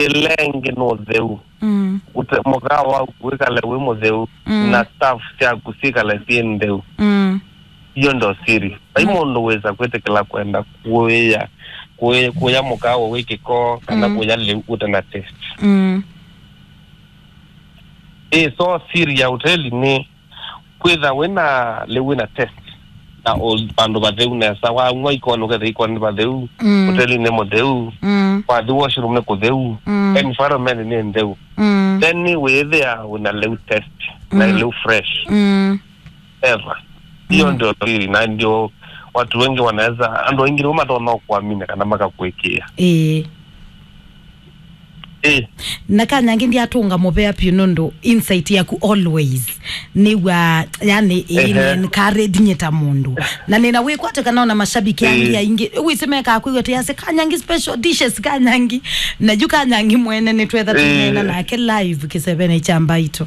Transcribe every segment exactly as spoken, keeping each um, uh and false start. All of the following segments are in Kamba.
Ĩla ĩngĩ nĩ ũtheu. Mm. Ũte-, mũkawa waku wĩkale wĩ mũtheu, mm, na staff syaku syĩkale syĩ ntheu. Mm. Hiyo ndo siri. Vai, mm, mũndũ wĩsa kwĩtĩkĩla kwenda kũya, kũya, kũya mũkawa wĩ kĩko, kana, mm, kũya lĩu ũte na test. Mm. Ĩ, so siri ya hoteli nĩ kwĩtha wĩna lĩu wĩna test na ũ-, vandũ vatheu nesa. Wang'wa ikoni, ũketha ikoni nĩ vatheu, mm, hotelinĩ nĩ mũtheu, mm, wathi washroom nĩ kũtheu, mm, environment nĩ ntheu. Mm. Then wĩthĩa wĩna lĩu test na, mm, lĩu fresh. Mm. Ever. Hiyo, mm, ndio siri, na ndio watu wengi wanaweza, andũ aingĩ nĩmo matonya kuamini kana makakwĩkĩa. Ĩĩ. Ĩĩ. Na Kanyangĩ ndiatũnga mũvea piũ nũndũ insight yaku always nĩw'a, yani, ehe, ĩnencourage nyie ta mũndũ. Na nĩna wĩkwatyo kana ona mashabiki angĩ, ĩĩ, aingĩ wĩsĩ mekaa kwĩw'a tĩyasĩ Kanyangĩ special dishes Kanyangĩ. Na yu Kanyangĩ mwene nĩtwetha, ĩĩ, tũneena nake live kĩsevenĩ kya Mbaitũ.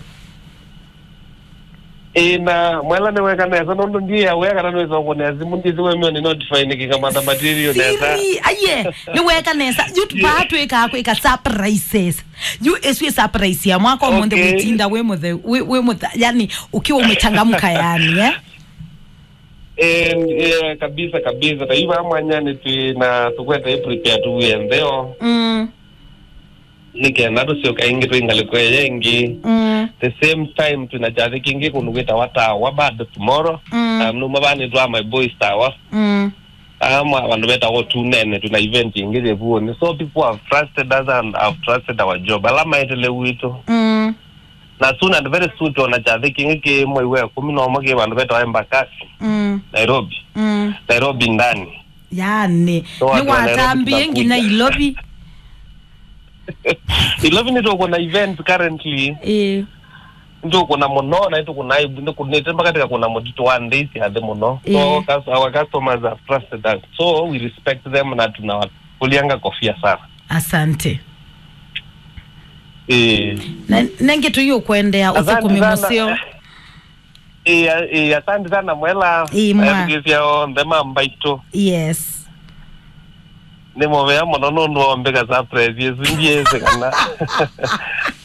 Ĩĩ, na Mwela nĩweka nesa, nũndũ ndiĩ aware kana nĩwĩsa ũkũnĩa simũ, ndyĩsĩ wemeo nĩ notify nĩkĩkamata material nesa. Siri, aiye, nĩweka nesa. Yu, yeah, vaa twĩkaa kwĩka surprises. Yu ĩsu ĩ surprise ya mwaka ũmũnthĩ, okay, wĩtinda wĩ mũtheu, wĩ, wĩ mũtha-, yani, ukiwa umechangamka yani, eh? Eh, eh, kabisa, kabisa. Ta yu vaa mwanyanĩ twĩ na tũkwete prepare tuwie ntheo. Mm. Nĩ kenda tũsyoka ĩngĩ twĩ ngalĩko ĩya ĩngĩ. Mm. The same time twĩna kyathĩ kĩngĩ kũndũ kwĩtawa Tawa bado tomorrow. Mm. Um, nũma vaa nĩtwaa my boys Tawa. Mm. Ama vandũ vetawa Tunene, twĩna event ĩngĩ yĩvuonĩ. So people have trusted us and have trusted our job. Ala maetele witũ. Mm. Na soon and very soon twona kyathĩ kĩngĩ kĩ mwei wa ĩkũmi na ũmwe kĩ vandũ vetawa Embakasi, mm, Nairobi. Mm. Nairobi ndani. Yani, so nĩ watu wa Nairobi watambie nginya tunakuja. Ilovi. Ilovi nĩtũkũna events currently. Ĩĩ. Nĩtũkũna mũno, na nĩtũkũna, nĩtũkũnĩte mpaka tĩkakũna mũtitũ wa ndĩi sya thĩ mũno. So, ĩĩ, cus-, our customers have trusted us. So, we respect them na tunawakũlianga kofia sana. Asante. Ĩĩ. Na nengĩ tũyũkwendea. Asante ũthũkũmi sana. Mũseo. Ĩĩ, ĩĩ, asante sana Mwela. Ĩĩ, mwa. Athukĩĩsya onthe ma Mbaitũ. Yes. Nĩ mũvea mũno nũndũ wa mbĩka surprise ĩsu, ndiĩsĩ kana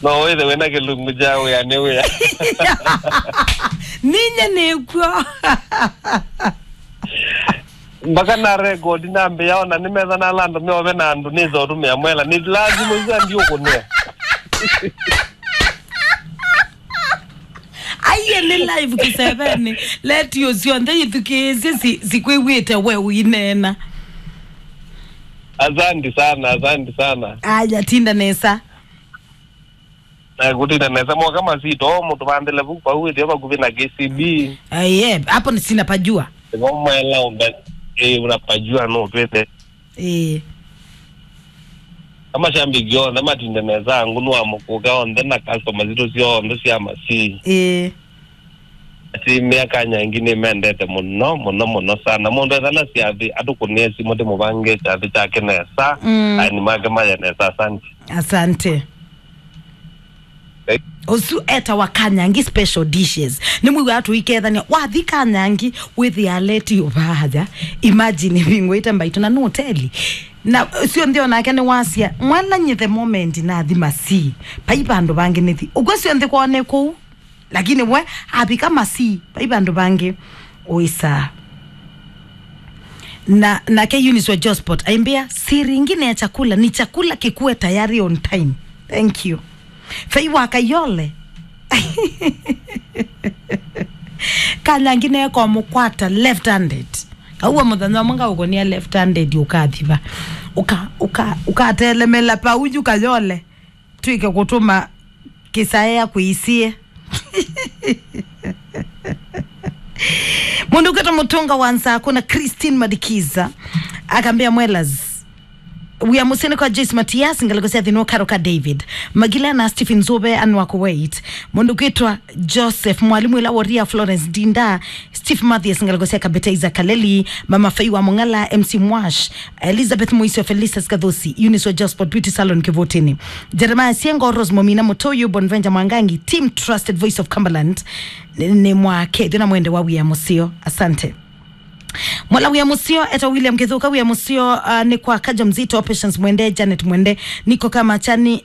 no wĩthe wĩna kĩlungu kya wĩa nĩ wĩa. Ninye nĩkw'o. Mpaka na record nambĩa ona nĩmetha na ala andũ meove na andũ nĩtha ũtũmĩa Mwela. Nĩ lazima isu andiũkũnĩa. Aiye, nĩ live kĩsevenĩ. Letio syonthe ithukĩĩsye si-, sikwĩw'ĩte we ũineena. Asante sana, asante sana. Aya, tinda nesa. Na kũtinda nesa, mwoka masito, mũtũvandĩle vu vau ĩtheo vakuvĩ na K C B. Aiye, hapo ni sina pajua. Nĩvo Mwela ũmbe, eh, unapajua no twĩte. Ĩĩ. Amashabiki onthe matinde nesa, ngũnũ wa mũkũka onthe na customers sitũ syonthe sya Masii. Ĩĩ. Ati mĩaka nyingĩ nĩmendete mũno, mũno, mũno sana. Mũndũ ethana syathi, atũkũnĩe simũ tĩmũvange kyathĩ kyake nesa, mm, aeni make maye nesa. Asante. Asante. Ũsu etawa Kanyangi special dishes. Nĩmwĩw'aa tũikethania. Wathi Kanyangi, wĩthĩa aleti ũvaaja. Imagine, vingũĩte Mbaitũ na nũteli. Na syonthe onake nĩwasya, mwana nyie the moment nathi Masii, vai vandũ vangĩ nĩthi. Ũkw'a syonthe kwone kũu. Lakini we, avika Masii, vai vandũ vangĩ ũisaa. Na, nake Eunice wa Josport aimbĩa, siri ingine ya chakula ni chakula kikuwe tayari on time. Thank you. Fei wa Kayole. Kanyangi nĩekomũkwata left handed. Kauwa mũthenya ũmwe ngaũkũnĩa left handed ũkathiva. Ũka, ũka, ũkatelemela pauju Kayole. Twĩke kũtũma kĩsaea kwĩsie. Mũndũ ũkwĩtwa Mũtũnga wa Nsaku na Christine Madikiza akambĩa, Mwelas, wĩa mũseo nĩ kwa Joyce Matias, ngalĩko sya Thĩnũ, Karo ka David Magila na Stephen Nzũve, Anwa Kuwait. Mũndũ ũkwĩtwa Joseph, mwalimũ ĩla Woria, Florence Dinda, Steve Mathias, ngalĩko sya Kabete, Isaac Kaleli, Mama Fei wa Mũng'ala, M C Mwash, Elizabeth Moisio, Felicitas Kathosi, Eunice wa Josport, Beauty Salon Kĩvũtĩnĩ, Jeremiah Siengo, Rose Momina Mũtũyũ, Bonvenja Mwangangi, Team Trusted Voice of Cumberland, nĩ, nĩ mwakethyo na mwende wa wĩa mũseo. Asante. Mwala wĩa mũseo, eta William Kithuka, wĩa mũseo, uh, nĩ kwa Kaja Mzito, Patience Mwende, Janet Mwende, Niko Kama Chani,